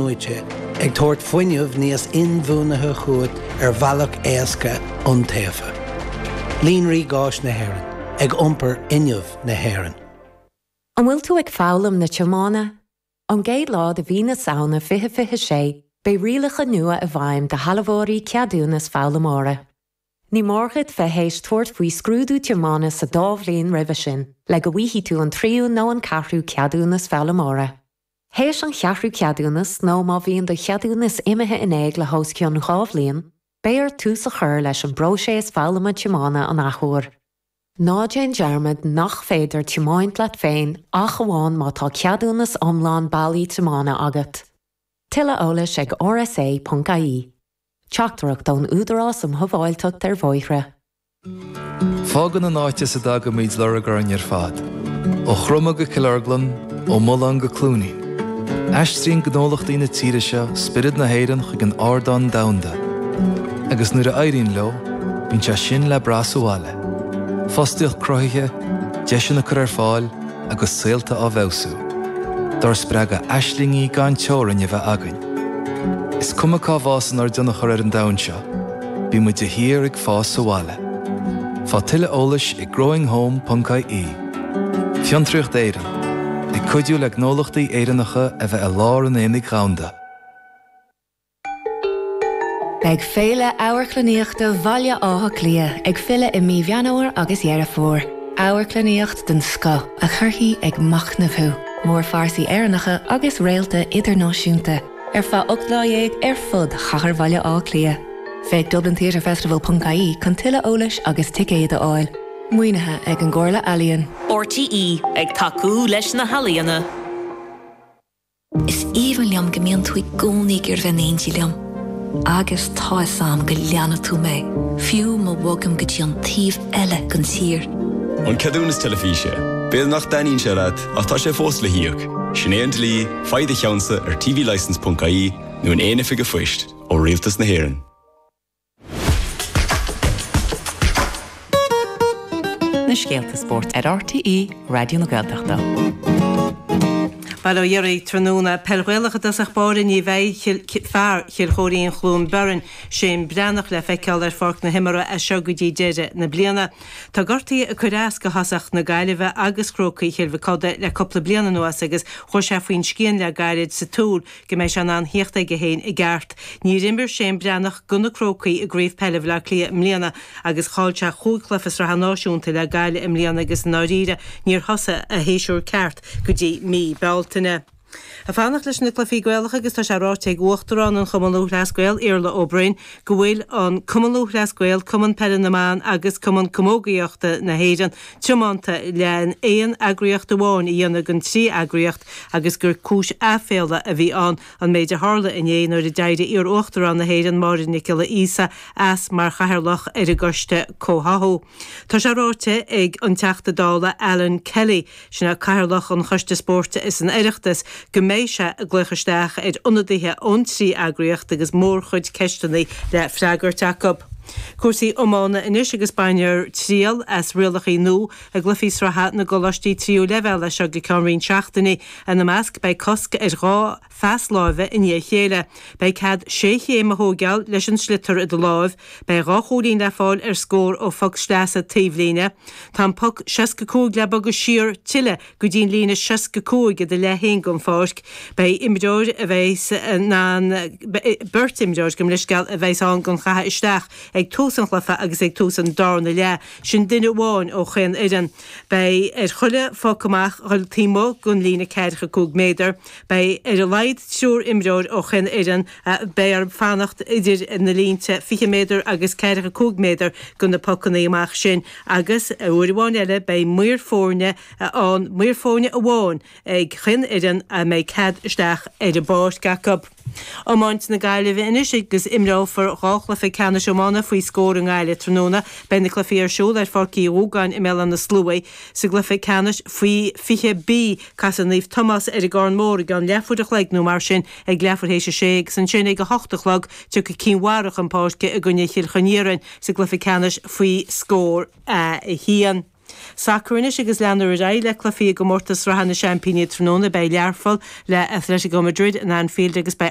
in-athnuaite, ag tabhairt fuinneamh níos inbhuanaithe chugat ar bhealach éasca, iontaofa. Líonraí Gáis na hÉireann, ag iompar fhuinneamh na hÉireann. An bhfuil tú ag foghlaim na tiomána? Ón gcéad lá de mhí na Samhna 2026, beidh rialacha nua i bhfeidhm do shealbhóirí ceadúnas foghlaimeora. Ní mór duit bheith théis tabhairt faoi scrúdú tiomána sa dá bhliain roimhe sin le go bhfaighidh tú an tríú nó an ceathrú ceadúnas foghlaimeora. Théis an cheathrú ceadúnas nó má bhíonn do cheadúnas imithe in éag le hos cionn 2 bhliain, beidh ort tús a chur leis an bpróiseas foghlama tiomána an athuair. Ná déan dearmad nach féidir tiomáint leat féin ach amháin má tá ceadúnas iomlán bailí tiomána agat. Tuilleadh eolais ag rsa.ie. Teachtaireacht ón Údarás um Shábháilteacht ar Bhóithre. Fágann an áit as a dtagaimid lorg orainn ar fad, ó Chromtha go Cill Orglan, ó Mullán go Cluainín. Aistríonn gnólachtaí na tíre seo spiorad na hÉireann chuig an ardán domhanda. Agus nuair a éiríonn leo, bíonn sé sin le brath sa bhaile. Fostaíocht cruthaithe, deiseanna curtha ar fáil agus saolta á bhfeabhsú. Dár spreagadh aislingí gan teorainn a bheith againn. Is cuma cá bhfásann ár dtionchar ar an domhan seo, bíonn muid de shíor ag fás sa bhaile. Faigh tuilleadh eolais ag growinghome.ie. Fiontraíocht Éireann, ag cuidiú le gnólachtaí Éireannacha a bheith i lár an aonaigh dhomhanda. Beidh Féile Amharclannaíochta Bhaile Átha Cliath ag filleadh i mí Mheán Fhómhair agus Dheireadh Fómhair. Amharclannaíocht den scoth a chuirfidh ag machnamh thú. Mórphearsaí Éireannacha agus réalta idirnáisiúnta ar feadh 18 lá ar fud chathair Bhaile Átha Cliath. Féach dublintheatrefestival ponc ie chun tuilleadh eolais agus ticéid a fháil. Maoinithe ag an gComhairle Ealaíon. RTÉ, ag tacú leis na healaíona. Is aoibhinn liom go mbíonn tú i gcónaí ag iarraidh bheith in éindí liom. Agus tá 'fhios a'm go leanfaidh tú mé, fiú má bhogaim go dtí an taobh eile den tír. An ceadúnas teilifíse. B'fhéidir nach dtaitníonn sé leat, ach tá sé fós le híoc. Sin é an dlí, faigh do cheannsa ar tvlicence.ie nó in aon oifig an phoist ó Rialtas na hÉireann. Na scéalta spóirt ar RTÉ Raidió na Gaeltachta. Bail ó Dhia oraibh tráthnóna. Peil Ghaelach i dtosach báire ní bheidh fear Chill Chóirín Chluain Biorainn, Shane Breathnach le feiceáil ar pháirc na himeartha as seo go dtí deireadh na bliana. Tá gortuithe ag cur as do thosach na Gaillimhe agus Chrócaigh Chill Mhic Coda le cúpla bliain anuas agus chuaigh sé faoin scian le gairid sa tsúil go mbeidh sé in ann theacht aige féin i gceart. Níor imir Shane Breathnach do na Crócaigh i gCraobh Peile Bhaile Átha Cliath i mbliana agus chaill sé chúig chluiche sraithe náisiúnta le Gaillimh i mbliana agus i ndáiríre níor thosaigh a shéasúr ceart go dtí mí Bealtaine. Ag fanacht leis na cluichí Gaelacha agus tá sé ráite ag Uachtarán an Chumann Lúthchleas Gael, Iarla Ó Broin, go bhfuil an Cumann Lúthchleas Gael, Cumann Peile na mBan agus Cumann Camógaíochta na hÉireann tiomanta le aon eagraíocht amháin a dhéanamh den trí eagraíocht agus gur cúis aiféala a bhí ann an méid a tharla inné nuair a d'éirigh iar-Uachtarán na hÉireann Máire Nic Giolla Íosa as mar chathaoirleach ar an gCoiste Comhtháthú. Tá sé ráite ag an Teachta Dála Alan Kelly, sin é Cathaoirleach an Choiste Spóirt san Oireachtas, go mbeidh sé ag glaoch isteach ar ionadaithe ón trí eagraíocht agus mórchuid ceisteanna le freagairt acu. Cúrsaí iomána anois agus bainfear triail as rialacha nua i gcluichí sraithe na gcoláistí tríú leibhéal as seo go ceann roinnt seachtainí. Ina measc beidh cosc ar dhá phas láimhe i ndiaidh a chéile. Beidh cead sé chéim a thóigeáil leis an sliotar i do láimh. Beidh dhá chúilín le fáil ar scór ó phoc sleasa taobhlíne. Tá an poc 65 le bogadh siar tuilleadh go dtí an líne 65 i do leath féin den pháirc. Beidh imreoir a bheas in ann, beirt imreoir, gabh mo leithscéal, a bheas ann don chaitheamh isteach ag tús an chluiche agus ag tús an darna leath. Sin duine amháin ó chaon fhoireann. Beidh ar chuile phoc amach dhul taobh amuigh den líne ceathracha cúig méadar. Beidh ar a laghad triúr imreoir ó chaon fhoireann a beidh orthu fanacht idir na línte 20 méadar agus 45 méadar do na pocanna amach sin agus, uair amháin eile, beidh maor foirne ann, maor foirne amháin ag chaon fhoireann a mbeidh cead isteach ar an bpáirc acu. Iomáint na Gaillimhe anois agus imreofar dhá chluiche ceannais iomána faoi scór i nGaillimh tráthnóna. Beidh na cluichí ar siúl ar Pháirc Uí Dhúgáin i mBéal Átha na Sluaighe. Sa gcluiche ceannais faoi 20B, casfaidh Naomh Tomás ar an gCarn Mór i gceann leathuair a chloig nó mar sin ag leathuair théis a sé agus ansin ag a hocht a chlog tiocfaidh Cinn Mhara chun páirce i gcoinne Chill Choiríon sa gcluiche ceannais faoi scór A1. Sacar anois agus leanfar ar aghaidh le cluichí i gcomórtas sraithe na seaimpíní tráthnóna. Beidh Learpholl le Atletico Madrid in Anfield agus beidh.